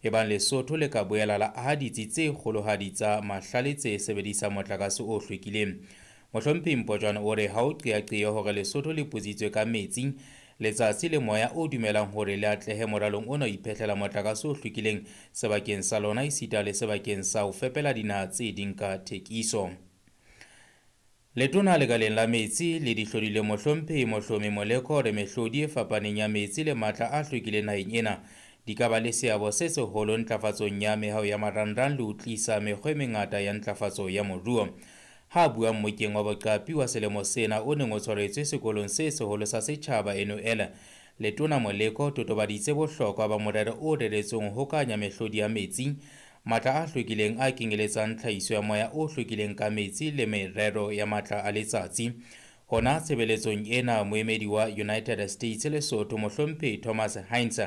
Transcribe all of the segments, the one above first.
Ebang Lesotho le ka boela la aha ditsi tse kgolohadi tsa mahlale tse sebedisang motlakase o hlwekileng. Mohlomphehi Mpotjwane o re ha ho qeaqeo hore Lesotho le putsitswe ka metsi, letsatsi le moya o dumelang hore le atlehe moralong ona ho iphehlela motlakase o hlwekileng sebakeng sa lona esita le sebakeng sa ho fepela dinaha tse ding ka thekiso. Letona lekaleng la metsi le dihlodileng Mohlomphehi Mohlomi Moleko o re mehlodi e fapaneng ya metsi le matla a hlwekileng naheng ena di ka ba le seabo se seholo ntlafatsong ya mehao ya marangrang le ho tlisa mekgwa e mengata ya ntlafatso ya moruo. Ha a bua mmokeng wa boqapi wa selemo sena o neng o tshwaretswe sekolong se seholo sa setjhaba NOL, Letona Moleko o totobaditse bohlokwa ba morero o reretsweng ho hokahanya mehlodi ya metsi, matla a hlwekileng a kenyeletsang tlhahiso ya moya o hlwekileng ka metsi le merero ya matla a letsatsi. Hona tshebeletsong ena, moemedi wa United States Lesotho, Mohlomphehi Thomas Heinz,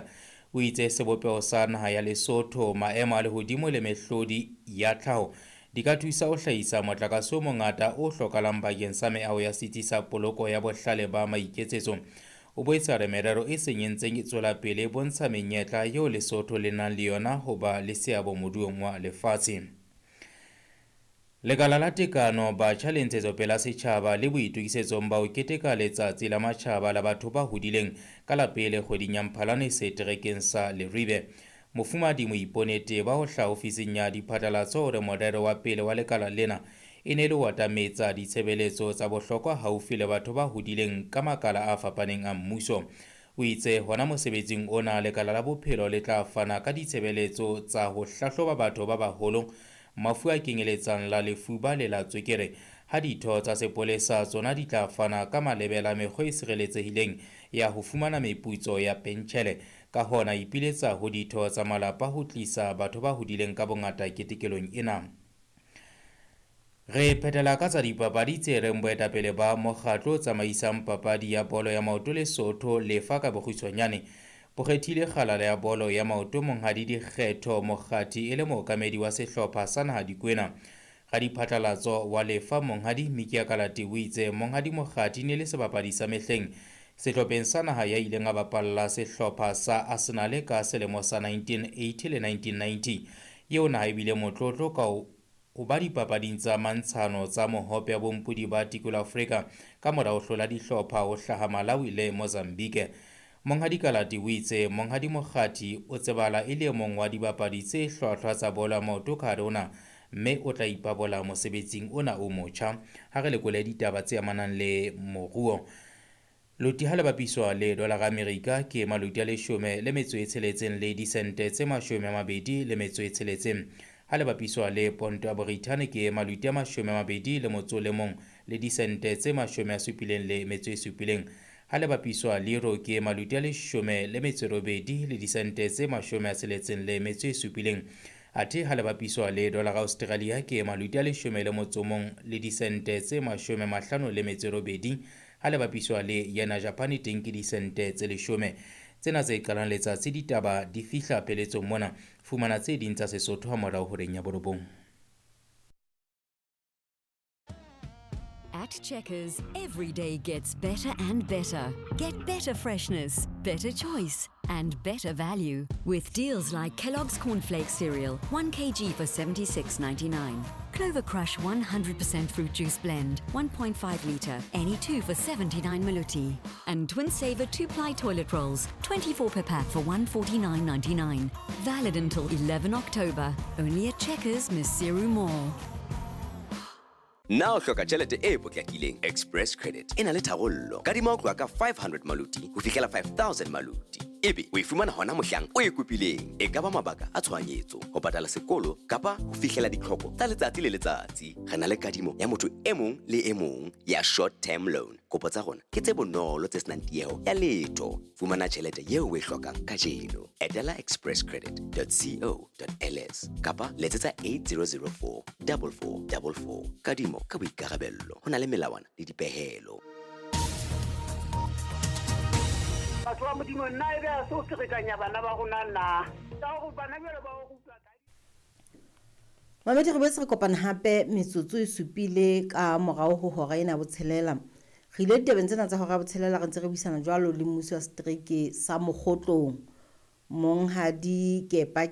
o itse sebopeho sa naha ya Lesotho, maemo a lehodimo le mehlodi ya tlhaho di ka thusa ho hlahisa motlakase o mongata o hlokahalang bakeng sa meaho ya setsi sa poloko ya bohlale ba maiketsetso. O boetse a re merero e seng e ntseng e tswela pele e bontsha menyetla eo Lesotho le nang le yona ho ba le seabo moruong wa lefatshe. Lekala la Tekano, Batjha le Ntshetsopele ya Setjhaba le boitokisetsong ba ho keteka Letsatsi la Matjhaba la Batho ba Hodileng ka la pele kgweding ya Mphalane seterekeng sa Leribe. Mofumahadi Moipone Teba ho hlaha ofising ya diphatlalatso o re morero wa pele wa lekala lena e ne e le ho atametsa ditshebeletso tsa bohlokwa haufi le batho ba hodileng ka makala a fapaneng a mmuso. O itse hona mosebetsing ona lekala la bophelo le tla fana ka ditshebeletso tsa ho hlahloba batho ba baholo mafu a kenyeletsang la lefuba le la tswekere, ha ditho tsa sepolesa tsona di tla fana ka malebela mekgwa e sireletsehileng ya ho fumana meputso ya pentjhele. Ka hona ipiletsa ho ditho tsa malapa ho tlisa batho ba hodileng ka bongata ketekelong ena. Re phethela ka tsa dipapadi tse reng boetapele ba mokgatlo o tsamaisang papadi ya bolo ya maoto Lesotho lefa ka bokgutshwanyane bo kgethile kgalala ya bolo ya maoto Monghadi Dikgetho Mokgathi e le mookamedi wa sehlopha sa naha Dikwena. Radiphatlalatso wa lefa Monghadi Mikia Kalati o itse Monghadi Mokgathi ne le sebapadi sa mehleng sehlopheng sa naha ya ileng a bapalla sehlopha sa Arsenal ka selemo sa 1980 le 1990. Eo naha ebile motlotlo ka ho ba dipapading tsa mantshano tsa mohope ya bompodi ba Tikolo Afrika ka mora ho hlola dihlopha ho hlaha Malawi le Mozambique. Monghadi Kalati o itse Monghadi Mokgathi o tsebahala e le e mong wa dibapadi tse hlwahlwa tsa bolo ya maoto ka hare ho naha, mme o tla ipabola mosebetsing ona o motjha. Ha re lekole ditaba tse amanang le moruo. Loti ha le bapiswa le dolara Amerika ke maloti a leshome le metso e tsheletseng le disente tse 26. Ha le bapiswa le ponto ya Borithane ke maloti a 21 le disente tse 77. Ha le bapiswa le euro ke maloti a 18 le disente tse 67. Athe ha le bapiswa le dolara Australia ke maloti a 11 le disente tse 58. Ha le bapiswa le yena Japan teng ke disente tse 10. Tsena tse qalang letsatsi ditaba di fihla pheletsong mona. Fumana tse ding tsa Sesotho ha morao horeng ya 9. At Checkers, every day gets better and better. Get better freshness, better choice, and better value. With deals like Kellogg's Cornflakes cereal, 1 kg for $76.99. Clover Crush 100% fruit juice blend, 1.5 litre, any two for 79 maluti. And Twin Saver 2-ply toilet rolls, 24 per pack for $149.99. Valid until 11 October. Only at Checkers, Maseru Mall. Na o hloka tjhelete e potlakileng? Express Credit e na le tharollo. Kadima ho tloha ka 500 maluti ho fihlela 5000 maluti. Ebe o e fumana hona mohlang o e kopileng. E ka ba mabaka a tshohanyetso, ho patala sekolo kapa ho fihlela ditlhoko tsa letsatsi le letsatsi. Re na le kadimo ya motho e mong le e mong ya short term loan. Kopo tsa rona ke tse bonolo tse senang tieho ya letho. Fumana tjhelete eo o e hlokang kajeno. Etela expresscredit.co.ls kapa letsetsa 8004 4444. Kadimo ka boikarabello. Ho na le melawana le dipehelo. Batho ba Modimo, nna ebe a se o ferekanya bana ba rona na? Ka hore bana jwale ba o rutwa ka Mamedi, re boetse re kopana hape metsotso e supile ka morao ho hora ena ya botshelela. Re ile ditabeng tsena tsa hora ya botshelela re ntse re buisana jwalo le mmusi wa setereke sa Mokgotlong, Monghadi Kepa.